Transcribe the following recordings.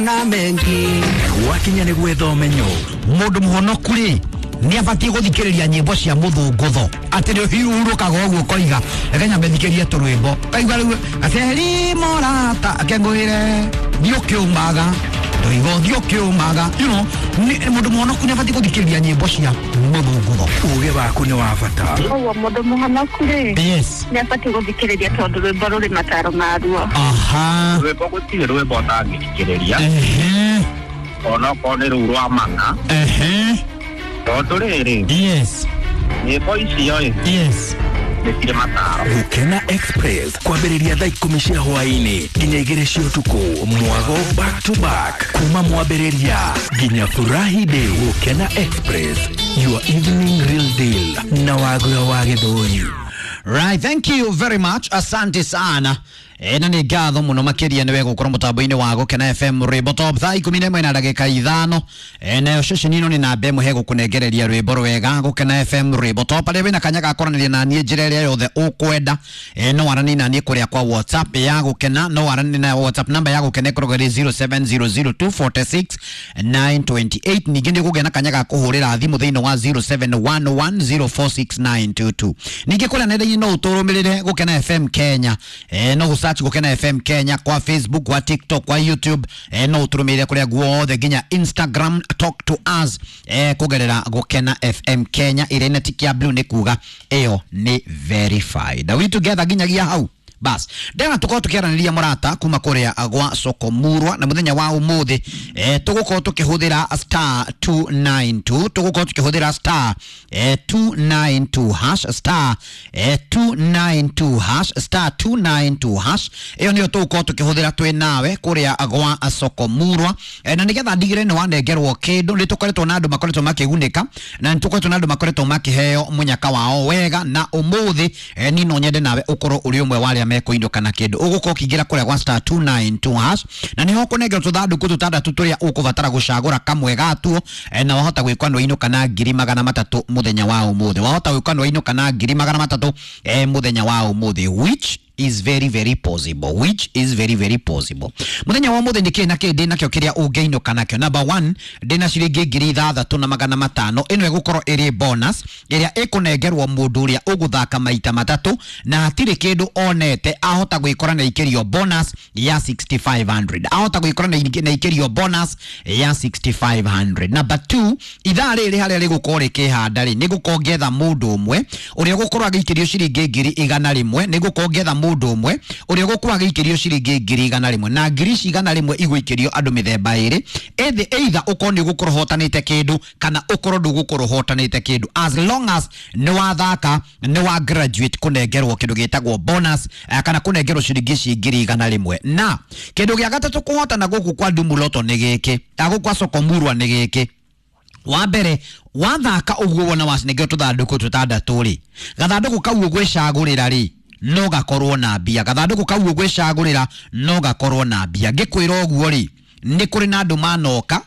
Na mengi Gwakinya nĩ gwetha ũmenyo. Mũndũ mũhonoku rĩ nĩ abatiĩ gũthikĩrĩria nyĩmbo cia mũthũngũtho atĩ nĩ ũhurũkaga ũguo ũkoiga reke nyambe thikĩrie tũrwĩmbo kaigua rĩu aceri morata akengũĩre thiĩ ũkĩũmaga ndoigo thiĩ ũkĩũmaga you know mũndũ mũhonoku nĩ abatiĩ gũthikĩrĩria nyĩmbo cia mũthũngũtho. Ũgĩ waku nĩ wa bata. Koguo mũndũ mũhonoku rĩ, yes, nĩ abatiĩ gũthikĩrĩria tondũ rwĩmbo rũrĩ mataro maruo. Aha. Rwĩmbo gũtirĩ rwĩmbo ũtangĩthikĩrĩria. Ehe. Onokorwo nĩ rũu rwa mana. Ehe. Tondũ rĩrĩ, yes, nyĩmbo icio ĩ, yes, nĩ cirĩ mataro. Gũkena Express kwambĩrĩria thaa 10 cia hwaĩ-inĩ nginya 2 cia ũtukũ, mwago back to back kuma mwambĩrĩria nginya furahi day. Gũkena Express, your evening real deal na Wagũra wa Gĩthũri. Right, thank you very much. Asante sana. Na nĩ ngatho mũno makĩria nĩwe gũkorwo mũtambo-inĩ wa Gũkena FM rwĩmbo top thaa 11 na ndagĩka 5. Nayo ceceni ĩno nĩ namba ĩmwe he gũkũnengereria rwĩmbo rwega Gũkena FM rwĩmbo top arĩa wĩna kanya ga kwaranĩria na niĩ njĩra ĩrĩa yothe ũkwenda. No waranie na niĩ kũrĩa kwa WhatsApp ya Gũkena, no waranie na WhatsApp namba ya Gũkena ĩkoragwo ĩrĩ 0700246928. Ningĩ nĩ ũkũgĩa na kanya ga kũhũrĩra thimũ thĩinĩ wa 0711046922. Ningĩ kũrĩa nenda-inĩ no ũtũrũmĩrĩre Gũkena FM Kenya. No gũsearch Gũkena FM Kenya kwa Facebook, kwa TikTok, kwa YouTube. No ũtũrũmĩrĩre kũrĩa guothe nginya Instagram. Talk to us kũgerera Gũkena FM Kenya ĩrĩa ĩna tick ya blue nĩ kuga ĩyo nĩ verified. Are we together nginyagia hau? Bas ndena tukorwo tukiaranĩria mũrata kuma kũrĩa gwa Sokomurwa na mũthenya wa ũmũthĩ tũgũkorwo tũkĩhũthĩra star 292, tũgũkorwo tũkĩhũthĩra star 292 hash, star 292 hash, star 292 hash. Ĩyo nĩyo tũgũkorwo tũkĩhũthĩra twĩ nawe kũrĩa gwa Sokomurwa. Na nĩgetha ndigĩre nĩ wanengerwo kĩndũ, nĩ tũkoretwo na andũ makoretwo makĩgunĩka na nĩ tũkoretwo na andũ makoretwo makĩheo mũnyaka wao wega, na ũmũthĩ niĩ no nyende nawe ũkorwo ũrĩ ũmwe wa arĩa mekũinũka na kĩndũ. Ũgũkorwo ũkĩingĩra kũrĩa gwa star 292 hash na nĩho ũkũnengerwo tũthandũkũ tũtandatũ tũrĩa ũkũbatara gũcagũra kamwe gatuo, na wahota gwĩkwa nĩ wainũka na 300,000 mũthenya wa ũmũthĩ. Wahota gwĩkwa nĩ wainũka na 300,000 mũthenya wa ũmũthĩ, which is very very possible, which is very very possible. Mũthenya wa ũmũthĩ nĩ kĩĩ na kĩĩ ndĩ nakĩo kĩrĩa ũngĩinũka nakĩo? Number 1, ndĩna ciringi 6,500. Ĩno ĩgũkorwo ĩrĩ bonus ĩrĩa ĩkũnengerwo mũndũ ũrĩa ũgũthaka maita matatũ na hatirĩ kĩndũ onete, ahota gwĩkora na ikĩrio bonus ya 6500, ahota gwĩkora na ikĩrio bonus ya 6500. Number 2, ithaa rĩrĩ harĩa rĩgũkorwo rĩkĩhanda rĩ, nĩngũkorwo ngĩetha mũndũ ũmwe ũrĩa ũgũkorwo agĩikĩrio ciringi 100,000, nĩngũkorwo ngĩetha mũndũ ũmwe ũrĩa ũgũkorwo agĩikĩrio ciringi 100,000, na ngiri ici 100 igũikĩrio andũ mĩthemba ĩrĩ, either ũkorwo nĩ ũgũkorwo ũhotanĩte kĩndũ kana ũkorwo ndũgũkorwo ũhotanĩte kĩndũ, as long as nĩ wathaka nĩ wa graduate kũnengerwo kĩndũ gĩtagwo bonus, kana kũnengerwo ciringi ici 100,000. Na kĩndũ gĩa gatatũ kũhotana gũkũ kwa Ndumuloto nĩ gĩkĩ, gũkũ kwa Sokomurwa nĩ gĩkĩ. Wa mbere, wathaka ũguo wona wacinengeo tũthandũkũ tũtandatũ rĩ, gathandũkũ kau ũgwĩcagũrĩra rĩ no gakorwo na mbia, gathandũkũ kau ũgwĩcagũrĩra no gakorwo na mbia. Ngĩkwĩra ũguo rĩ, nĩ kũrĩ na andũ manoka,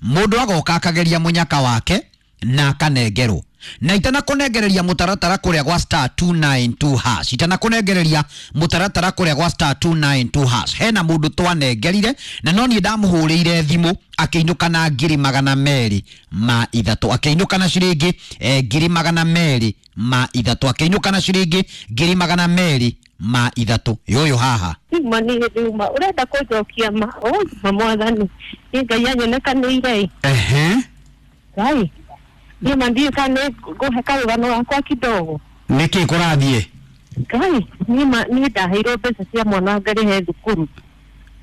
mũndũ agoka akageria mũnyaka wake na akanengerwo. Na itanakũnengereria mũtaratara kũrĩa gwa star 292 hash, itanakũnengereria mũtaratara kũrĩa gwa star 292 hash, hena mũndũ twanengerire na no niĩ ndamũhũrĩire thimũ akĩinũka na 203,000, akĩinũka na ciringi 203,000, akĩinũka na ciringi 203,000. Yũyũ haha Uma nĩ nduma ũrenda kũnjokia ma ma mwathani nĩ Ngai anyonekanĩire. Ehe. Ngai niĩ ma ndiũĩ kana nĩ ngũhe karũgano gakwa kidogo. Nĩkĩ kũrathiĩ? Ngai niĩ ma niĩ ndaheirwo mbeca cia mwana ngarĩhe thukuru.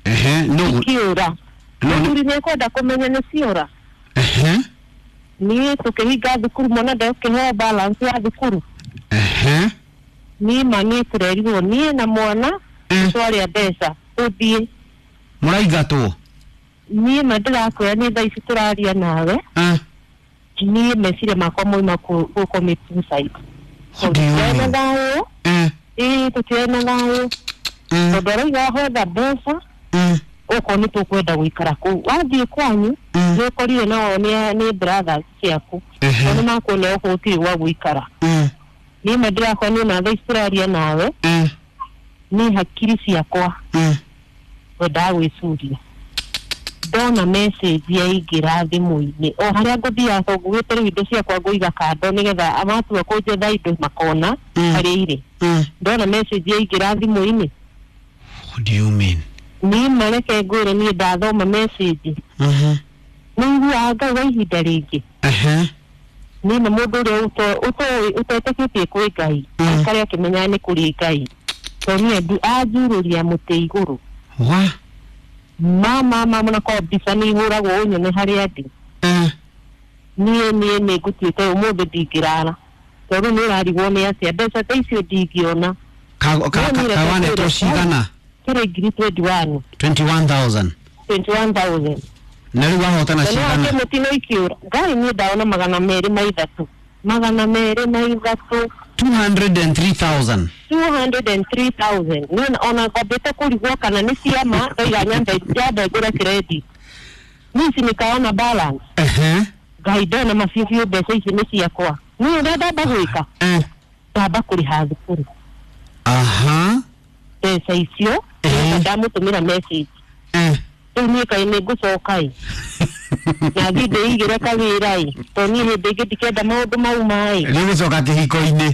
Ehe. No Ikiũra. Mũthuri nĩ ekwenda kũmenya nĩ ciora. Ehe. Niĩ tũkĩhinga thukuru mwana ndekũheo balance ya thukuru. Ehe. Niĩ ma niĩ tũrerirwo niĩ na mwana twarĩa mbeca tũthiĩ. Mũraingatwo? Niĩ ma ndĩrakwĩra niĩ thaa ici tũraria nawe. Niĩ meciria makwa moima gũ commit suicide. What do you Tũtirĩ na mean? thayũ. Ĩĩ tũtirĩ na thayũ. Tondũ arauga hotha mbeca okorwo nĩ tũkwenda gũikara kũu. Wathiĩ kwanyu nĩ ũkorire nao nĩ brothers ciaku. Tondũ nĩ makuona gũkũ gũtirĩ gwa gũikara. Niĩ ma ndĩrakora niĩ na thaa ici tũraria nawe niĩ hakiri ciakwa wendaga gwĩcuria. Ndona message yaingĩra thimũ-inĩ o harĩa ngũthiaga to ngugĩte rĩu indo ciakwa ngũiga kando nĩgetha matua kũnjetha indo makona harĩa irĩ. Ndona message yaingĩra thimũ-inĩ. What do you mean? Niĩ mareke ngwĩre niĩ ndathoma message nĩ iguaga Ngai wa ihinda rĩngĩ. Niĩ na mũndũ ũrĩa ũtetĩkĩtie kwĩ Ngai aikare akĩmenyaga nĩ kũrĩ Ngai tondũ niĩ anjurũria mũtĩ igũrũ. Wa? Mama mama na kwa mbica nĩ ihũragwo ũnyone harĩa ndĩ. Niĩ nĩ ngũtuĩte ũmũthĩ ndingĩrara tondũ nĩ ũrarigwo nĩ atĩa mbeca ta icio ndingĩona. Kawanetwo cigana? Kĩrĩ ngiri 21. 21,000. 21,000. Na rĩu wahotana cigana? Mũtino ikiũra Ngai niĩ ndaona 203. 203. 203,000. 203,000. Niĩ ona ngwambĩte kũrigwo kana nĩ ciama ndoiga nyambe ngũre credit. Niĩ ici nĩkaona balance. Ngai ndona mabiũ mbeca ici nĩ ciakwa. Niĩ ũrĩa ndamba gwĩka ndamba kũrĩha thukuru. Mbeca icio ndamũtũmĩra message. Rĩu niĩ kaĩ nĩ ngũcoka ĩ na thiĩ ndĩigĩre kawĩra ĩ tondũ niĩ hĩndĩ ĩngĩ ndikenda maũndũ mau maĩ. Rĩu gũcoka kĩhiko-inĩ.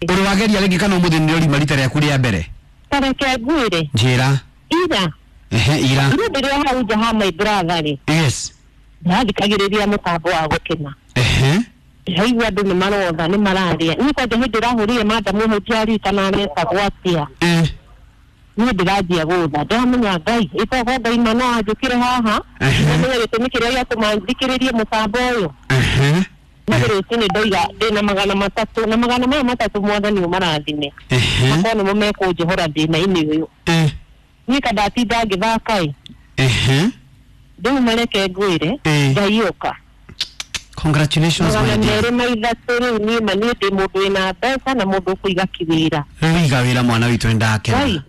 Ũrĩ wageria rĩngĩ kana ũmũthĩ nĩ ũrima rita rĩaku rĩa mbere? Ta reke ngwĩre. Njĩra. Ira. Ira. Ira ndĩrĩ hau nja ha my brother rĩ. Yes. Ndathikagĩrĩria mũtambo wa gũkena. Ndaigua andũ nĩ marotha nĩ mararĩa. Niĩ kwanja hĩndĩ ĩrahũrire madamu hau ndiaririkana aretagwo atĩa. Niĩ ndĩranjia gũtha ndamenya Ngai ĩtogo Ngai ma no anjũkĩre haha ndamenya gĩtũmi kĩrĩa gĩatũma thikĩrĩrie mũtambo ũyũ. Niĩ rũcinĩ ndoiga ndĩna 300 na magana maya matatũ mwathani ũmarathime makorwo nĩmo mekũnjohora thĩna-inĩ ũyũ. Niĩ ka ndatinda ngĩthaka ĩ rĩu mareke ngwĩre Ngai ũka. Congratulations my dear. 203 rĩu niĩ ma niĩ ndĩ mũndũ wĩna mbeca na mũndũ ũkũiga kĩwĩra. Rĩu iga wĩra mwana witũ nĩndakena.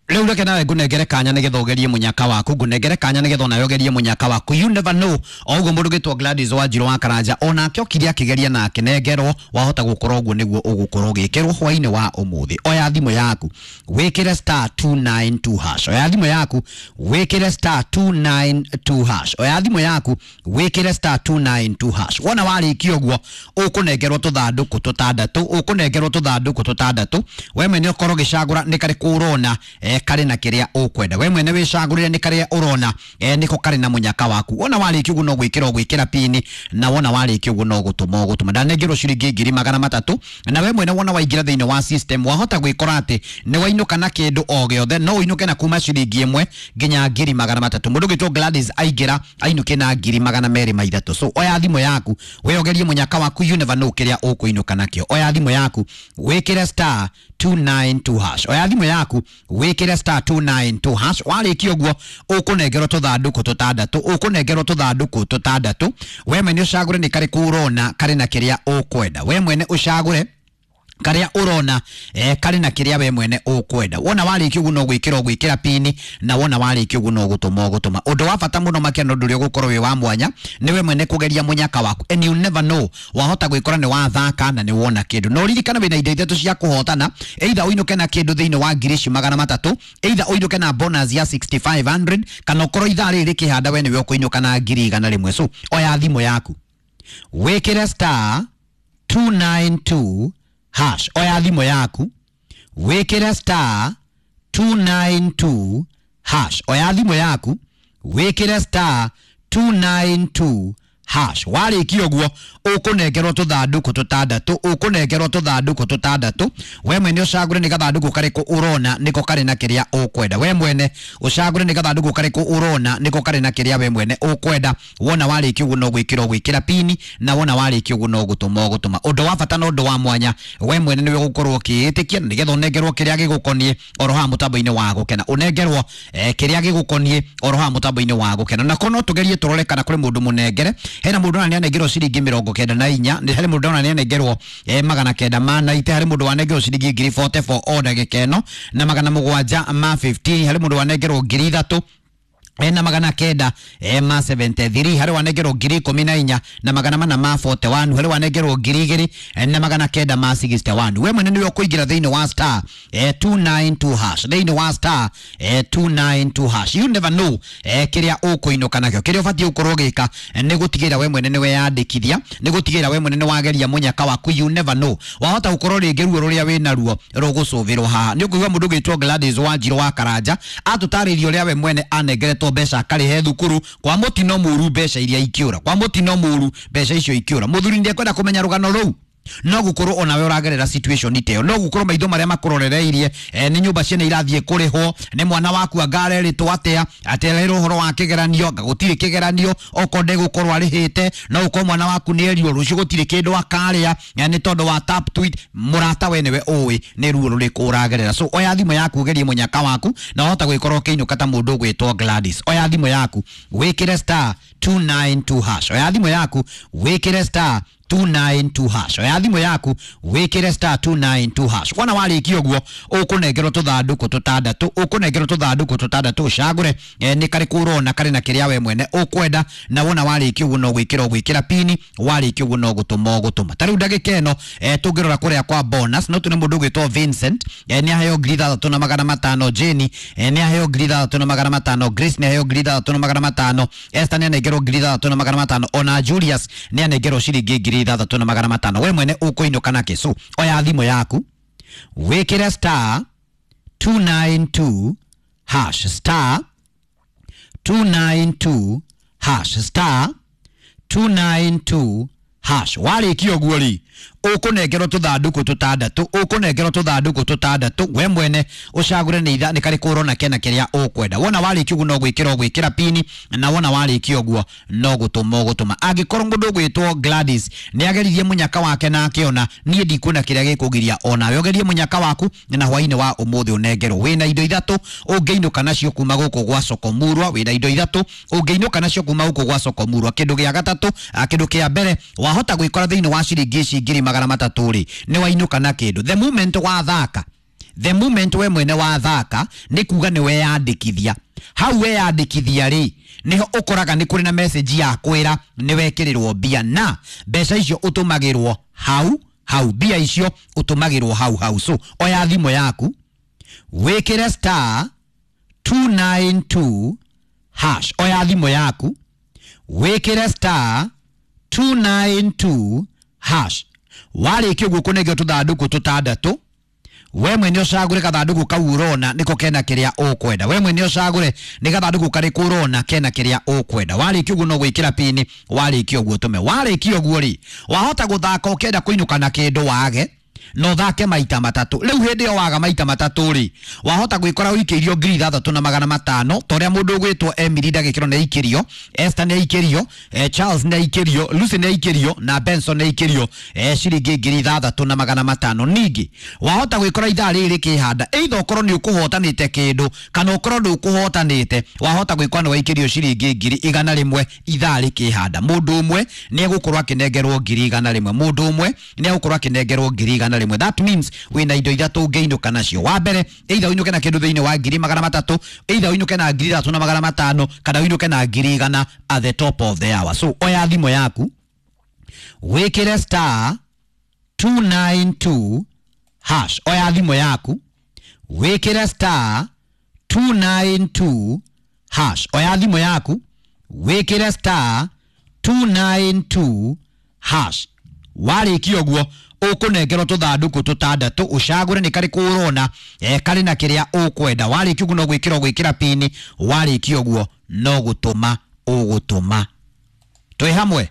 Rĩu reke nawe ngũnengere kanya nĩgetha ũgerie mũnyaka waku, ngũnengere kanya nĩgetha onawe ũgerie mũnyaka waku. You never know. O ũguo mũndũ gĩtwo Gladys Wanjiru wa Karanja onake okire akĩgeria na akĩnengerwo, wahota gũkorwo ũguo nĩguo ũgũkorwo ũgĩkĩrwo hwainĩ wa ũmũthĩ. Oya thimũ yaku wĩkĩre star 292 hash. Oya thimũ yaku wĩkĩre star 292 hash. Oya thimũ yaku wĩkĩre star 292 hash. Wona warĩkia ũguo ũkũnengerwo tũthandũkũ tũtandatũ, ũkũnengerwo tũthandũkũ tũtandatũ. We mwene ũkorwo ũgĩcagũra nĩ karĩkũ ũrona karĩ na kĩrĩa ũkwenda. We mwene wĩcagũrĩre nĩ karĩa ũrona nĩko karĩ na mũnyaka waku. Wona warĩkia ũguo no gwĩkĩra ũgwĩkĩra pini, na wona warĩkia ũguo no gũtũma ũgũtũma. Ndanengerwo ciringi 300,000 na we mwene wona waingĩra thĩinĩ wa system wahota gwĩkora atĩ nĩ wainũka na kĩndũ o gĩothe, no ũinũke na kuma ciringi 1 nginya 300,000. Mũndũ ũgĩtwo Gladys aingĩra ainũke na 203,000. So oya thimũ yaku we ũgerie mũnyaka waku, you never know kĩrĩa ũkũinũka nakĩo. Oya thimũ yaku wĩkĩre star 292 hash. Oya thimũ yaku wĩkĩre star 292 hash. Warĩkia ũguo ũkũnengerwo tũthandũkũ tũtandatũ, ũkũnengerwo tũthandũkũ tũtandatũ. We mwene ũcagũre nĩ karĩkũ ũrona karĩ na kĩrĩa ũkwenda. We mwene ũcagũre karĩa ũrona karĩ na kĩrĩa we mwene ũkwenda. Wona warĩkia ũguo no gwĩkĩra ũgwĩkĩra pini, na wona warĩkia ũguo no gũtũma ũgũtũma. Ũndũ wa bata mũno makĩria na ũndũ ũrĩa ũgũkorwo wĩ wa mwanya nĩ we mwene kũgeria mũnyaka waku, and you never know, wahota gwĩkora nĩ wathaka na nĩ wona kĩndũ. No ririkana wĩna indo ithatũ cia kũhotana, either ũinũke na kĩndũ thĩinĩ wa 300,000, either ũinũke na bonus ya 6500, kana ũkorwo ithaa rĩrĩ rĩkĩhanda we nĩwe ũkũinũka na 100,000. So oya thimũ yaku wĩkĩre star 292 hash. Oya thimũ yaku wĩkĩre star 292 hash. Oya thimũ yaku wĩkĩre star 292 hash. Warĩkia ũguo ũkũnengerwo tũthandũkũ tũtandatũ, ũkũnengerwo tũthandũkũ tũtandatũ. We mwene ũcagũre nĩ gathandũkũ karĩkũ ũrona nĩko karĩ na kĩrĩa ũkwenda. We mwene ũcagũre nĩ gathandũkũ karĩkũ ũrona nĩko karĩ na kĩrĩa we mwene ũkwenda. Wona warĩkia ũguo no gwĩkĩra ũgwĩkĩra pini, na wona warĩkia ũguo no gũtũma ũgũtũma. Ũndũ wa bata na ũndũ wa mwanya, we mwene nĩwe ũgũkorwo ũkĩĩtĩkia nĩgetha ũnengerwo kĩrĩa gĩgũkoniĩ oro haha mũtambo-inĩ wa gũkena. Ũnengerwo kĩrĩa gĩgũkoniĩ oro haha mũtambo-inĩ wa gũkena. Na korwo no tũgerie tũrore kana kũrĩ mũndũ mũnengere. Hena mũndũ ona nĩanengerwo ciringi 94, harĩ mũndũ ona nĩanengerwo 990, harĩ mũndũ wanengerwo ciringi 44 o ndagĩka ĩno, na 715, harĩ mũndũ wanengerwo 3,000 Na 900 ma 73 harĩ wanengerwo 14,441 harĩ wanengerwo 2,900 ma 61. We mwene nĩwe ũkũingĩra thĩinĩ wa star 292 hash, thĩinĩ wa star 292 hash. You never know kĩrĩa ũkũinũka nakĩo. Kĩrĩa ũbatiĩ gũkorwo ũgĩka nĩ gũtigĩrĩra we mwene nĩwe yandĩkithia, nĩ gũtigĩrĩra we mwene nĩ wageria mũnyaka waku. You never know, wahota gũkorwo rĩngĩ ruo rũrĩa wĩ naruo rũgũcũvĩrwo haha. Nĩ ũkũigua mũndũ ũgwĩtwo Gladys Wanjiru wa Karanja atũtarĩria ũrĩa we mwene anengeretwo mbeca akarĩhe thukuru kwa mũtino mũru, mbeca iria ikĩũra kwa mũtino mũru, mbeca icio ikĩũra. Mũthuri ndĩekwenda kũmenya rũgano rũu, no gukorwo onawe ũragerera situation ta ĩyo, no gukorwo maitho marĩa makũrorereirie nĩ nyũmba ciene irathiĩ kũrĩhwo, nĩ mwana waku anga arerĩtwo atĩa, atererwo ũhoro wa kĩgeranio, anga gũtirĩ kĩgeranio okorwo ndegũkorwo arĩhĩte, no gũkorwo mwana waku nĩ erirwo rũciũ gũtirĩ kĩndũ akarĩa nĩ tondũ wa tap tweet. Mũrata we nĩwe ũĩ nĩ ruo rũrĩkũ ũragerera. So oya thimũ yaku ũgerie mũnyaka waku na wahota gwĩkorwo ũkĩinũka ta mũndũ ũgwĩtwo Gladys. Oya thimũ yaku wĩkĩre star 292 hash. Oya thimũ yaku wĩkĩre star 292 hash. Oya thimũ yaku wĩkĩre star 292 hash. Wona warĩkia ũguo ũkũnengerwo tũthandũkũ tũtandatũ, ũkũnengerwo tũthandũkũ tũtandatũ, ũcagũre nĩ karĩkũ ũrona karĩ na kĩrĩa we mwene ũkwenda, na wona warĩkia ũguo no gwĩkĩra ũgwĩkĩra pini, warĩkia ũguo no gũtũma ũgũtũma. Ta rĩu ndagĩka ĩno tũngĩrora kũrĩa kwa bonus no tũne mũndũ ũgwĩtwo Vincent nĩ aheo 6,500, Jenny nĩ aheo 6,500, Grace nĩ aheo 6,500, Esther nĩ anengerwo 6,500, ona Julius nĩ anengerwo ciringi 6,500. We mwene ũkũinũka nakĩ? So oya thimũ yaku wĩkĩre star 292 hash, star 292 hash, star 292 hash. Warĩkia ũguo rĩ ũkũnengerwo tũthandũkũ tũtandatũ, ũkũnengerwo tũthandũkũ tũtandatũ, we mwene ũcagũre nĩ itha nĩ karĩkũ ũrona kena kĩrĩa ũkwenda. Wona warĩkia ũguo no gwĩkĩra ũgwĩkĩra pini, na wona warĩkia ũguo no gũtũma ũgũtũma. Angĩkorwo mũndũ ũgwĩtwo Gladys nĩ ageririe mũnyaka wake na akĩona, niĩ ndikuona kĩrĩa gĩkũgiria onawe ũgerie mũnyaka waku na hwainĩ wa ũmũthĩ ũnengerwo. Wĩna indo ithatũ ũngĩinũka nacio kuma gũkũ gwa Soko Murwa, wĩna indo ithatũ ũngĩinũka nacio kuma gũkũ gwa Soko Murwa. Kĩndũ gĩa gatatũ, kĩndũ kĩa mbere wahota gwĩkora thĩinĩ wa ciringi ici 300,000 rĩ nĩ wainũka na kĩndũ. The moment wathaka, the moment we mwene wathaka nĩ kuga nĩ weyandĩkithia. Hau weyandĩkithia rĩ niho ũkoraga nĩ kũrĩ na message ya kwĩra nĩ wekĩrĩrwo mbia, na mbeca icio ũtũmagĩrwo hau hau, mbia icio ũtũmagĩrwo hau hau. So oya thimũ yaku wĩkĩre star 292 hash. Oya thimũ yaku wĩkĩre star 292 hash. Warĩkia ũguo kũnengwo tũthandũkũ tũtandatũ, we mwene ũcagũre gathandũkũ kau ũrona nĩko kena kĩrĩa ũkwenda. We mwene ũcagũre nĩ gathandũkũ karĩkũ ũrona kena kĩrĩa ũkwenda. Warĩkia ũguo no gwĩkĩra pini, warĩkia ũguo tũme. Warĩkia ũguo rĩ wahota gũthaka ũkĩenda kũinũka na kĩndũ wage, no thake maita matatũ. Rĩu hĩndĩ ĩyo waga maita matatũ rĩ wahota gwĩkora ũikĩirio 6,500 ta ũrĩa mũndũ ũgwĩtwo Emily ndagĩkĩro nĩ aikĩrio, Esther nĩ aikĩrio, Charles nĩ aikĩrio, Lucy nĩ aikĩrio na Benson nĩ aikĩrio ciringi 6,500. Ningĩ wahota gwĩkora ithaa rĩrĩ rĩkĩhanda, either ũkorwo nĩ ũkũhotanĩte kĩndũ kana ũkorwo ndũkũhotanĩte, wahota gwĩkora nĩ waikĩrio ciringi 100,000 ithaa rĩkĩhanda. Mũndũ ũmwe nĩ egũkorwo akĩnengerwo 100,000, mũndũ ũmwe nĩ egũkorwo akĩnengerwo 100,000. That means wĩna indo ithatũ ũngĩinũka nacio. Wa mbere either ũinũke na kĩndũ thĩinĩ wa 300,000, either ũinũke na 3,500, kana ũinũke na 100,000 at the top of the hour. So oya thimũ yaku wĩkĩre star 292 hash. Oya thimũ yaku wĩkĩre star 292 hash. Oya thimũ yaku wĩkĩre star 292 hash. Warĩkia ũguo ũkũnengerwo tũthandũkũ tũtandatũ, ũcagũre nĩ karĩkũ ũrona karĩ na kĩrĩa ũkwenda. Warĩkia ũguo no gwĩkĩra ũgwĩkĩra pini, warĩkia ũguo no gũtũma ũgũtũma. Twĩ hamwe?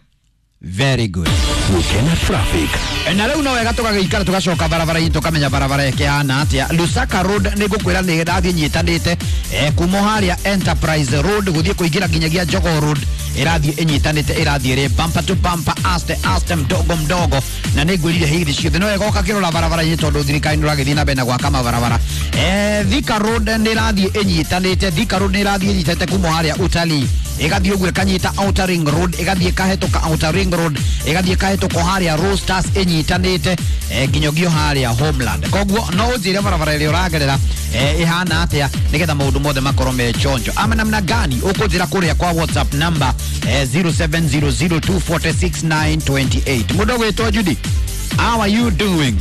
Very good. Gukena traffic. Na rĩu no wega tũgagĩikara tũgacoka barabara-inĩ tũkamenya barabara ĩkĩhana atĩa. Lusaka Road nĩ ngũkwĩra nĩ ĩrathiĩ nyitanĩte kuma harĩa Enterprise Road gũthiĩ kũingĩra nginyagia Jogoo Road, ĩrathiĩ ĩnyitanĩte, ĩrathiĩ ĩrĩ bumper to bumper, aste aste, mdogo mdogo, na nĩ ngwĩrire hĩndĩ ciothe no wega ũkakĩrora barabara-inĩ tondũ thirikari nĩ ũragĩthiĩ na mbere na gwaka mabarabara. Thika Road nĩ ĩrathiĩ ĩnyitanĩte, Thika Road nĩ ĩrathiĩ ĩnyitanĩte kuma harĩa Utalii Ĩgathiĩ ũguo ĩkanyita Outer Ring Road, ĩgathiĩ ĩkahĩtũka Outer Ring Road, ĩgathiĩ ĩkahĩtũka harĩa Roasters ĩnyitanĩte nginya harĩa Homeland. Koguo no ũnjĩre barabara ĩrĩa ũragerera ĩhana atĩa nĩgetha maũndũ mothe makorwo me chonjo. Ama namna gani ũkũnjĩra kũrĩa kwa WhatsApp number 0700246928. Mũndũ ũgwĩtwo Judy, how are you doing?